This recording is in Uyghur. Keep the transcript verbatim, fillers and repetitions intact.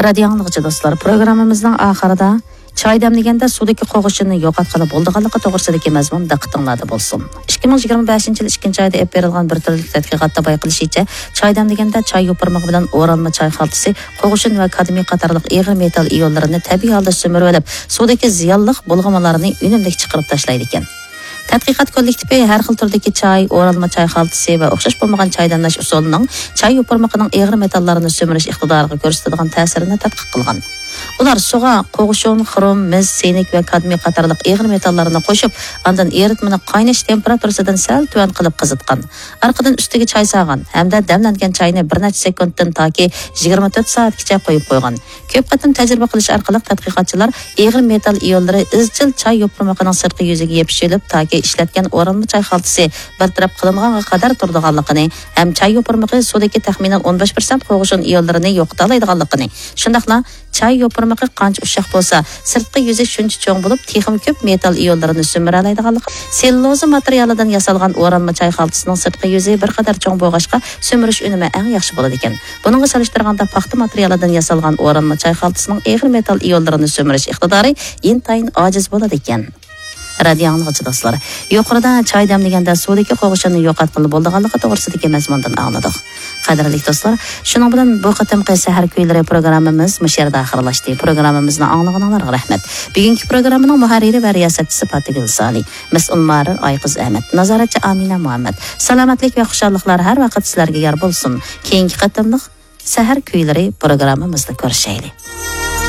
رادىيو ئاڭلىغۇچى دوستلار، پروگراممىمىزنىڭ ئاخىرىدا چاي دەملىگەندە سۇدىكى قوغۇشۇننى يوقاتقىلى بولىدىغانلىقى توغرىسىدىكى مەزمۇن دىققىتىڭلاردا بولسۇن. ئىككى مىڭ يىگىرمە بەشىنچى يىل ئىككىنچى ئايدا ئېلىپ بېرىلغان بىر تۈرلۈك تەتقىقاتتا بايقىلىشىچە، چاي دەملىگەندە چاي يوپۇرمىقى بىلەن ئورالما چاي خالتىسى، قوغۇشۇن ۋە كادمىي قاتارلىق ئېغىر مېتال ئىيونلىرىنى تەبىئىي ھالدا سۈمۈرۈۋېلىپ، سۇدىكى زىيانلىق بۇلغىمىلارنى ئۈنۈملۈك چىقىرىپ تاشلايدىكەن. تەتقىقات كوللېكتىپى ھەر خىل تۈردىكى چاي، ئورالما چاي خالتىسى ۋە ئوخشاش بولمىغان چاي دەملەش ئۇسۇلىنىڭ چاي يوپۇرمىقىنىڭ ئېغىر مېتاللارنى سۈمۈرۈش ئىقتىدارىغا كۆرسىتىدىغان تەسىرىنى تەتقىق قىلغان. ئۇلار سۇغا قوغۇشۇن، خروم، مىس، سىنك ۋە كادمىي قاتارلىق ئېغىر مېتاللارنى قوشۇپ، ئاندىن ئېرىتمىنى قايناش تېمپېراتۇرىسىدىن سەل تۆۋەن قىلىپ قىزىتقان. ئارقىدىن ئۈستىگە چاي سالغان ھەمدە دەملەنگەن چاينى بىر نەچچە سېكۇنتتىن تاكى يىگىرمە تۆت سائەتكىچە قويۇپ قويغان. كۆپ قېتىم تەجرىبە قىلىش ئارقىلىق تەتقىقاتچىلار ئېغىر مېتال ئىيونلىرى ئىزچىل چاي يوپۇرمىقىنىڭ سىرتقى يۈزىگە يېپىشىۋېلىپ، تاكى ئىشلەتكەن ئورالما چاي خالتىسى بىر تەرەپ قىلىنغانغا قەدەر تۇرىدىغانلىقىنى ھەم چاي يوپۇرمىقى سۇدىكى تەخمىنەن ئون بەش پىرسەنت قوغۇشۇن ئىيونلىرىنى يوقىتالايدىغانلىقىنى، شۇنداقلا چاي يوپۇرمىقى قانچە ئۇششاق بولسا، سىرتقى يۈزى شۇنچە چوڭ بولۇپ، تېخىمۇ كۆپ مېتال ئىيونلىرىنى سۈمۈرەلەيدىغانلىقى، سېللۇلوزا ماتېرىيالىدىن ياسالغان ئورالما چاي خالتىسىنىڭ سىرتقى يۈزى بىر قەدەر چوڭ بولغاچقا، سۈمۈرۈش ئۈنۈمى ئەڭ ياخشى بولىدىكەن. بۇنىڭغا سېلىشتۇرغاندا، پاختا ماتېرىيالىدىن ياسالغان ئورالما چاي خالتىسىنىڭ ئېغىر مېتال ئىيونلىرىنى سۈمۈرۈش ئىقتىدارى ئىنتايىن ئاجىز بولىدىكەن. رادىيو ئاڭلىغۇچى دوستلار، يۇقىرىدا چاي دەملىگەندە سۇدىكى قوغۇشۇننى يوقاتقىلى بولىدىغانلىقى توغرىسىدىكى مەزمۇندىن ئاڭلىدۇق. قەدىرلىك دوستلار، شۇنىڭ بىلەن بۇ قېتىمقى سەھەر كۈيلىرى پروگراممىمىز مۇشۇ يەردە ئاخىرلاشتى. پروگراممىمىزنى ئاڭلىغىنىڭلارغا رەھمەت. بۈگۈنكى پروگراممىنىڭ مۇھەررىرى ۋە رىياسەتچىسى پاتىگۈل سالى، مەسئۇل مۇھەررىر ئايقىز ئەمەت، نازارەتچى ئامىنە مۇھەممەد. سالامەتلىك ۋە خۇشاللىقلار ھەر ۋاقىت سىلەرگە يار بولسۇن. كېيىنكى قېتىملىق سەھەر كۈيلىرى پروگراممىمىزدا كۆرۈشەيلى.